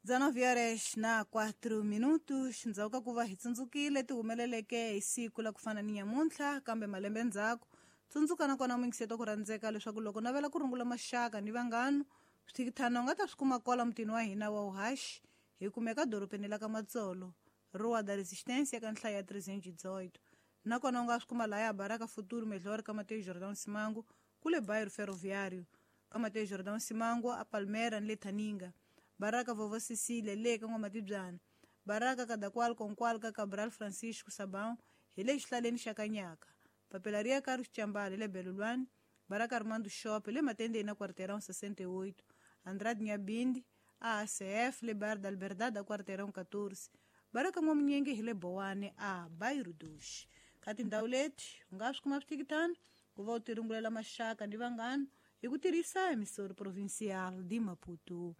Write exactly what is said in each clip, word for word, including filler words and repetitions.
dezenove horas na quatro minutos ndzhaku ka ku va hi tsundzukile ti humeleleke hi siku la ku fana ni nyamuntlha kambe malembe ndzhaku. Tsundzuka nakona muyingiseti wa ku rhandzeka leswaku loko navela ku rungula maxaka ni vanghana swithikithana u nga ta swi kuma kwala mutini wa hina wa Uhashi hi kumeka dorobeni la ka Matsolo, Rua da Resistência ka nhlayo ya trezentos e dezoito. Nakona u nga swi kuma lahaya Baraka Futuro Melhor ka Mateus Jordão Simango kule bairro Ferroviário ka Mateus Jordão Simango a Palmeira ni le Thaninga, Baraka Vovó Cecília le ka N'wamatibyana, Baraka Kadakwal Konkwal ka Cabral Francisco Sabão hi le xihlaleni xa Kanyaka, Papelaria Carlos Chambala le Belulwani, Baraka Armando Shop le Matendeni na Quarteirão sessenta e oito, Andrade Nhabinde a A C F le Bar da Liberdade a Quarteirão catorze, Baraka N'wamunyenge hi le Bowane a Bairro dos. Ka tindhawu leti u nga swi kuma swithikithana ku va u tirungulela maxaka ni vanghana hi ku tirhisa emissora provincial de Maputo.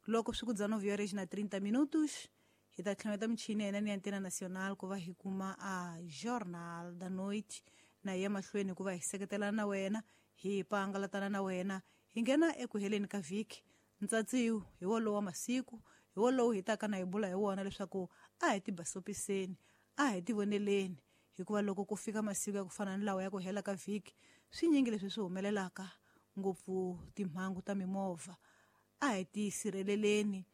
Loko swi ku dezenove horas na trinta minutos hi ta tlhameta michini ya hina ni Antena Nacional ku va hi kuma a Jornal da Noite na hi ya mahlweni ku va hi seketelana na wena, hi pangalatana na wena, hi nghena eku heleni ka vhiki. Ntsatsiwu hi wolowo wa masiku hi wolowo hi taka na hi bula hi wona leswaku a hi tibasopiseni, a hi tivoneleni, hikuva loko ku fika masiku ya ku fana ni lawa ya ku hela ka vhiki swinyingi leswi swi humelelaka ngopfu timhangu ta mimovha. A hi tisirheleleni,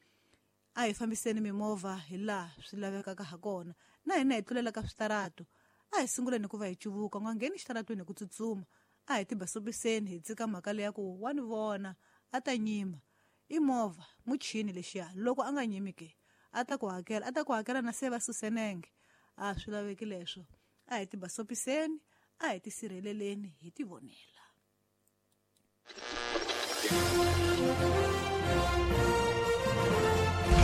a hi fambiseni mimovha hi laha swi lavekaka ha kona, na hina hi tlulela ka switarato a hi sunguleni ku va hi cuvuka, u nga ngheni xitaratweni hi ku tsutsuma. A hi tibasopiseni hi tsika mhaka leya ku wa ni vona a ta nyima i movha muchini lexiya, loko a nga nyimi ke a ta ku hakela, a ta ku hakela na se va susenenge. A swi laveki leswo, a hi tibasopiseni, a hi tisirheleleni, hi tivonela.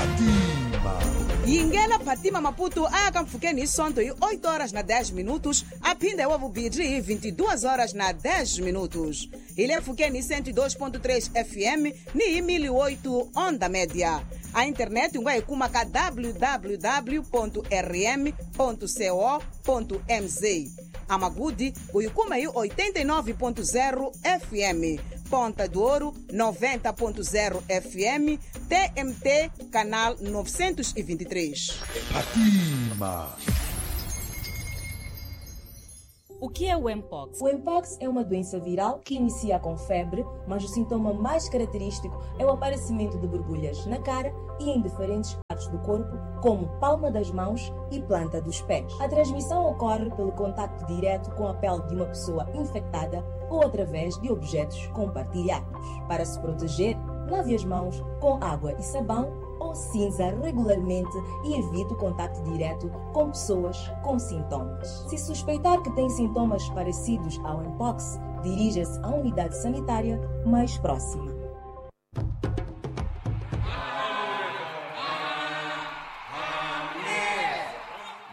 Fatima. Yingela Fatima Maputo a ya ka mpfhukeni hi Sonto hi oito horas na dez minutos, a phinda hi wa vumbirhi hi vinte e duas horas na dez minutos. Hi le mpfhukeni hi cento e dois ponto três F M ni hi mil e oito onda média. A internet u nga yi kuma ka w w w ponto r m ponto c o ponto m z. A Magude u yi kuma hi oitenta e nove ponto zero F M, Ponta do Ouro noventa ponto zero F M, T M T canal novecentos e vinte e três. Fatima. O que é o Mpox? O Mpox é uma doença viral que inicia com febre, mas o sintoma mais característico é o aparecimento de borbulhas na cara e em diferentes partes do corpo, como palma das mãos e planta dos pés. A transmissão ocorre pelo contacto direto com a pele de uma pessoa infectada ou através de objetos compartilhados. Para se proteger, lave as mãos com água e sabão ou cinza regularmente e evite o contacto direto com pessoas com sintomas. Se suspeitar que tem sintomas parecidos ao Mpox, dirija-se à unidade sanitária mais próxima.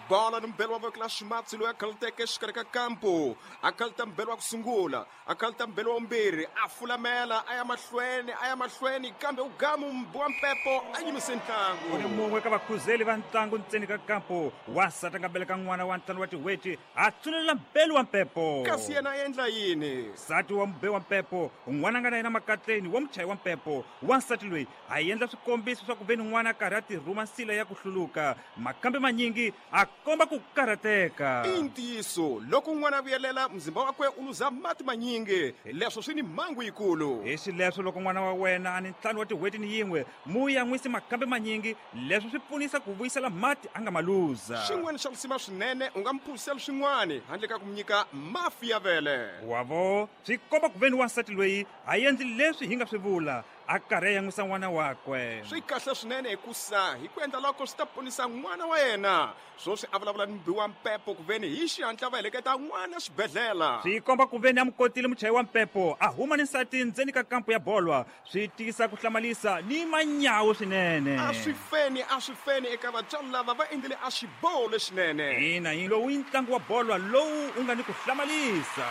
Bola nombelo wa clash matsi loyi a khaluteke exikarhi ka kampo, a khaluta mbelo wa ku sungula, a khaluta mbelo wa vumbirhi, a fulamela a ya mahlweni, a ya mahlweni, kambe u gamu wa mpepo a yimise ntlangu. U ni mun'we ka vakhuzeli va ntlangu ntseni ka kampo, wansati a nga beleka n'wana wa ntlhanu wa tin'hweti a tsunelela mbelo wa mpepo. Kasi yena a endla yini? Nsati wa mube wa mpepo, n'wana a nga na yena makatleni wa muchayi wa mpepo. Wansati loyi a endla swikombiso swa ku ve ni n'wana a karhi a tirhuma nsila ya ku hluluka, makambe manyingi a komba ku karhateka. I ntiyiso, loko n'wana a vuyelela muzimba wakwe u luza mati manyingi, leswo swi ni mhangu yikulu. Hi xileswo loko n'wana wa wena a ni ntlhanu wa tin'hweti ni yin'we, mu yan'wisi makambe manyingi, leswo swi pfunisa ku vuyisela mati a nga ma luza. Xin'wana xa lisima swinene, u nga mu phuzisela swin'wana handle ka ku mu nyika mafi ya vele. Wavo, swi komba ku ve ni wansati loyi a endli leswi hi nga swi vula, a karhi a yan'wisa n'wana wakwe. Swi kahle swinene hikusa hi ku endla loko swi ta ponisa n'wana wa yena. Swoswi a vulavula ni mubi wa mpepo ku veni hi xihatla va heleketa n'wana xibedhlele. Swi komba ku veni a mu kotile muchayi wa mpepo a huma ni nsati ndzeni ka kampo ya bolwa, swi tiyisa ku hlamalisa ni manyawu swinene. A swi feni, a swi feni eka vatswari lava va endlile a xiboho lexinene. Ina, yi lowu i ntlangu wa bolwa lowu u nga ni ku hlamalisa.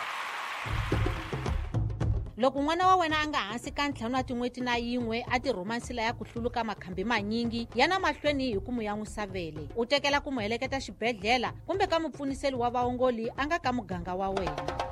Loko n'wana wa wena a nga hansi ka ntlhanu wa tin'hweti na yin'we a tirhuma nsila ya ku hluluka makhambi manyingi, yana mahlweni hi ku mu yan'wisa vele, u tekela ku mu heleketa xibedhlele kumbe ka mupfuniseli wa vaongoli a nga ka muganga wa wena.